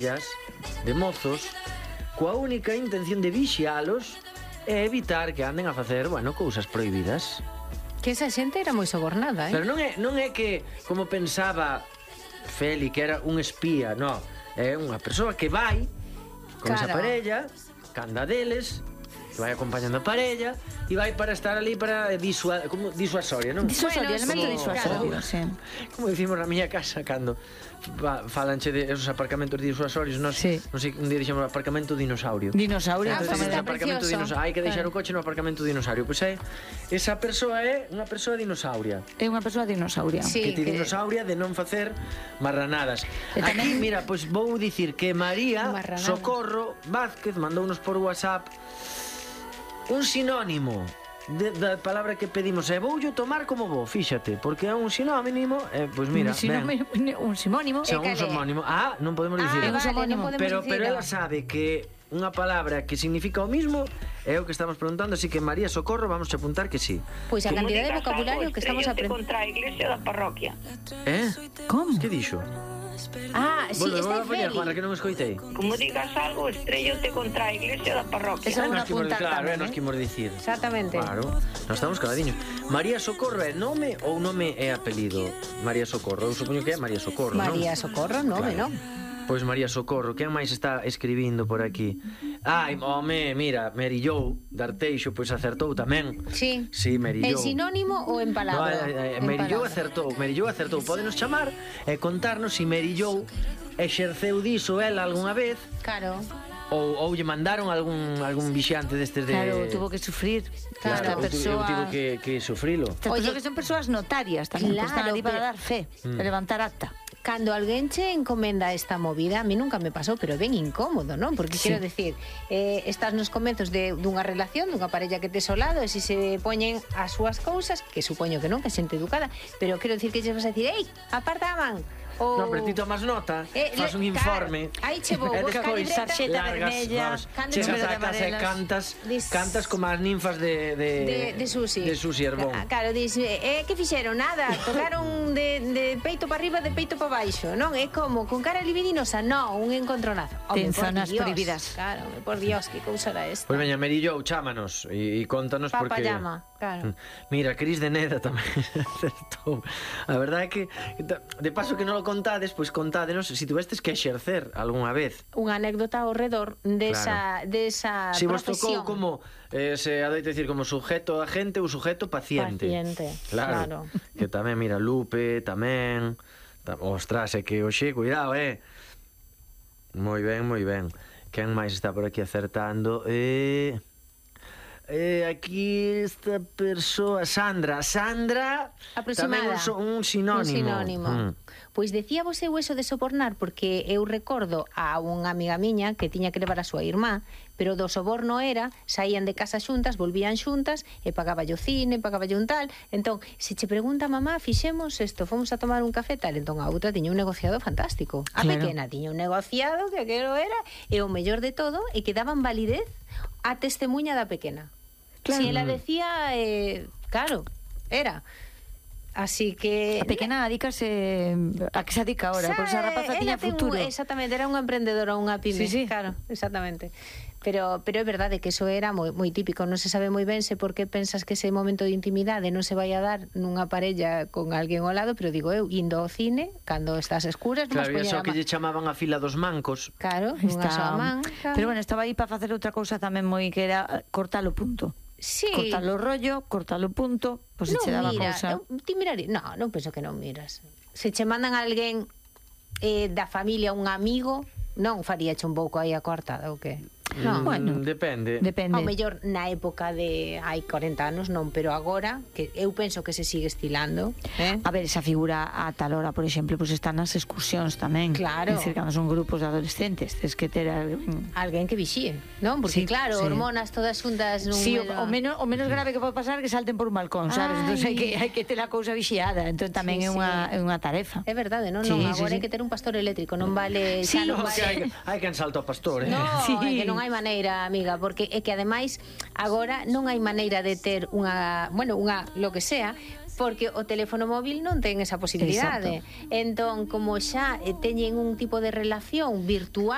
de mozos coa única intención de vixialos e evitar que anden a facer, bueno, cousas prohibidas. Que esa xente era moi sobornada, Pero non é que, como pensaba Feli, que era un espía, non. É unha persoa que vai con esa parella, canda deles, que vai acompañando a parella e vai para estar ali para disuasoria, non? Disuasoria, elemento disuasorio, sí. Como dicimos na miña casa cando falanche de esos aparcamentos disuasorios, non sei, un día dixemos aparcamento dinosaurio. Dinosaurio, aparcamento dinosaurio. Hai que deixar o coche no aparcamento dinosaurio. Pois esa persoa é unha persoa dinosauria. É unha persoa dinosauria. Que ti dinosauria de non facer marranadas. Aquí, mira, pois vou dicir que María Socorro Vázquez mandounos por WhatsApp un sinónimo da palabra que pedimos. E voulle tomar como vou, fíxate, porque é un sinónimo, pois mira, un sinónimo. Un sinónimo. Non podemos dicir. Pero ela sabe que unha palabra que significa o mismo é o que estamos preguntando, así que María Socorro, vamos a apuntar que sí. Pois a cantidad de vocabulario que estamos aprendendo contra a iglesia da parroquia. Como? Que dixo? Sí, está Feli. Juana, que non escoitei. Como digas algo, estrellote contra a iglesia da parroquia. Esa é unha punta. Claro, nos que imos dicir. Exactamente. Claro, nós estamos caladiños. María Socorro é nome ou nome é apelido? María Socorro, eu supoño que é María Socorro, non? María Socorro, nome, non? Pois María Socorro, quen máis está escribindo por aquí? Home, mira, Mary Jo D'Arteixo, pois acertou tamén. Sí. Sí, Mary Jo. En sinónimo ou en palabra? Mary Jo acertou. Pódenos chamar e contarnos se Mary Jo exerceu diso ela algunha vez. Claro. Ou lle mandaron algún vixiante destes de... Claro, tuvo que sufrir. Claro, tivo que sufrilo. Oye, que son persoas notarias tamén, que están ali para dar fe, para levantar acta. Cando alguén che encomenda esta movida, a mí nunca me pasou, pero ben incómodo, non? Porque quero decir, estás nos comezos dunha relación, dunha parella que tes ao lado, e se poñen as súas cousas, que supoño que non, que é xente educada, pero quero decir que che vas a decir, ei, aparta a man. Non, pero ti tomas nota, faz un informe. Aí che vou, buscar sarxeta vermella, chegas a casa e cantas como as ninfas de Susi Herbón. Claro, dis, que fixeron? Nada, tocaron de peito para arriba, de peito para baixo, non? É como, con cara libidinosa, non, un encontronazo. Ten zonas prohibidas. Claro, por Dios, que cousa era esta. Pois veña, Mary Jo, chámanos e contanos porque... Papayama, claro. Mira, Cris de Neda tamén acertou. A verdade é que, de paso que non lo contades, pois contádenos se tuvestes que exercer algunha vez unha anécdota ao redor desa profesión. Si vos tocou como se adoita dicir como sujeto agente ou sujeto paciente. Claro. Que tamén, mira, Lupe tamén. Ostras, é que oxe, cuidado, Moi ben. Quen máis está por aquí acertando? Aquí esta persoa, Sandra tamén un sinónimo. Pois decía vos eu eso de sobornar, porque eu recordo a unha amiga miña que tiña que levar a súa irmá, pero do soborno era, saían de casa xuntas, volvían xuntas e pagaballe o cine, pagaballe un tal. Entón, se che pregunta mamá, fixemos isto, fomos a tomar un café tal, entón a outra tiña un negociado fantástico. A pequena tiña un negociado que aquilo era, e o mellor de todo é que daban validez a testemunha da pequena. Si ela decía, claro, era. Así que... A pequena adícase a que se adica ahora, porque esa rapaza tiña futuro. Exactamente, era unha emprendedora, unha pyme. Sí. Claro, exactamente. Pero é verdade que eso era moi típico. Non se sabe moi ben se por que pensas que ese momento de intimidade non se vai a dar nunha parella con alguén ao lado, pero digo eu, indo ao cine, cando estás escuras, non vas poñer a man. Claro, que lle chamaban a fila dos mancos. Claro, unha soa man. Pero bueno, estaba aí para facer outra cousa tamén moi que era cortar o punto. Sí. Cortalo rollo, cortalo punto, pois se che daba cousa. Ti miraría, non penso que non miras. Se che mandan a alguén da familia, un amigo, non faríache un pouco aí a cortada ou que? No, bueno, depende. Ao mellor na época de hai 40 anos non, pero agora que eu penso que se sigue estilando, A ver, esa figura a tal hora, por exemplo, pues están nas excursións tamén. Claro. É dicir, cando son grupos de adolescentes, tens que ter alguén que vixíe, non? Porque claro, hormonas todas xuntas nun... Sí, o menos grave que pode pasar é que salten por un balcón, sabes? Entón hai que ter a cousa vixiada, entón tamén é unha tarefa. É verdade, non? Agora hai que ter un pastor eléctrico, non vale... Sí, hai que salto ao pastor, No, que non hai maneira, amiga, porque é que ademais agora non hai maneira de ter unha lo que sea, porque o teléfono móvil non ten esa posibilidade. Entón, como xa teñen un tipo de relación virtual